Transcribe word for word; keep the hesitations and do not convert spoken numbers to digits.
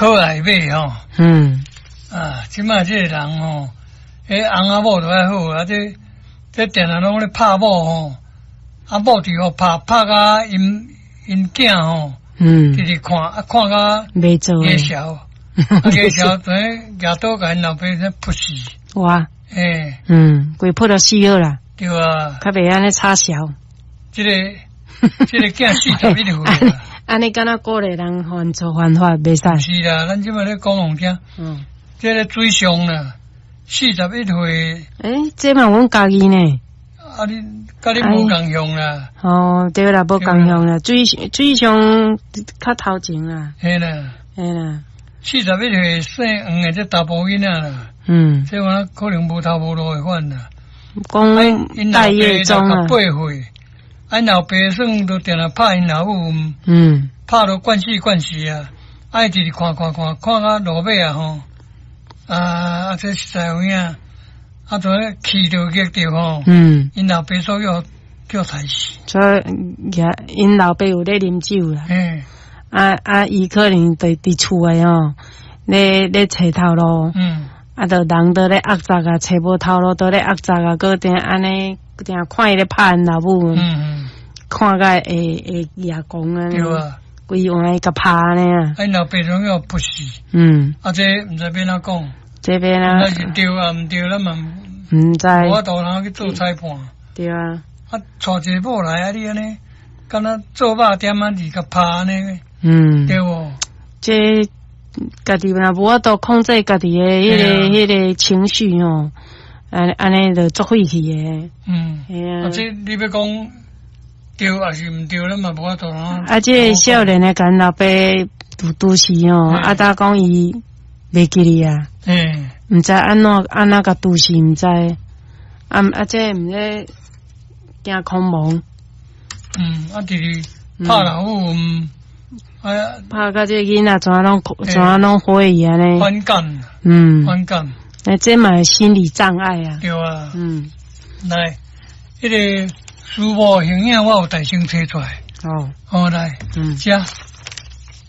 可愛買吼。嗯。啊，這擺這个人吼，彼翁仔某著愛好啊，這這定定攏咧拍某吼，啊某佇予拍拍甲𪜶𪜶囝吼，嗯，直直看啊看甲袂做牙潲，啊牙潲等於舉刀共𪜶老爸咧噗死。哇！欸，嗯，規噗著死好啦。對啊，較袂按呢吵潲。這个這个囝四十一歲。按呢敢若鼓勵人犯錯犯法袂使。是啦，咱這擺咧講予聽。嗯。這个水上啦，四十一歲。欸，這嘛阮家己呢。啊你，佮你無仝樣啦。哦，對啦，無仝樣啦，水水上較頭前啦。嘿啦。嘿啦。四十一歲姓黃的這查埔囡仔啦。嗯。這我可能無頭無路的款啦。講待業中啊。八歲，𪜶老爸算都定定拍𪜶老母。嗯。拍到慣死慣死啊！愛直直看看看，看到落尾啊吼。啊啊！這實在有影，啊，就咧氣著激著吼。嗯。𪜶老爸所叫叫刣死。所以，𪜶老爸有咧啉酒啦。嗯。啊啊！伊可能佇佇厝內吼，咧咧揣頭路。嗯。啊，著人都咧壓鑿啊，揣無頭路，都咧壓鑿啊，閣定按呢，定看伊咧拍𪜶老母。嗯嗯。看甲會會額狂啊！對啊。規碗共拍呢啊！𪜶老爸攏要噗死。嗯。啊，這毋知欲按怎講。這邊啊。那是對啊，毋對，咱嘛。毋知。無法度通去做裁判。對啊。啊，娶一個某來啊，你按呢，敢若做肉店仔佇共拍按呢？嗯。對無？這家己若無法度控制家己的彼个彼个情緒吼，按按呢就足火氣的。嗯。嘿啊。啊，這你欲講對抑是毋對，咱嘛無法度啊。啊，這个少年的共老爸拄拄死吼，啊，搭講伊袂記得啊。嗯。毋知按怎按怎共拄死，毋知。啊啊，這毋咧驚空亡。嗯，啊，直直拍老母，哎呀，拍甲這个囡仔怎攏怎攏火去按呢？反感。嗯。反感。欸，這嘛是心理障礙啊。對啊。嗯。來，彼个書某形影我有代先揣出來。哦。好來。嗯。這。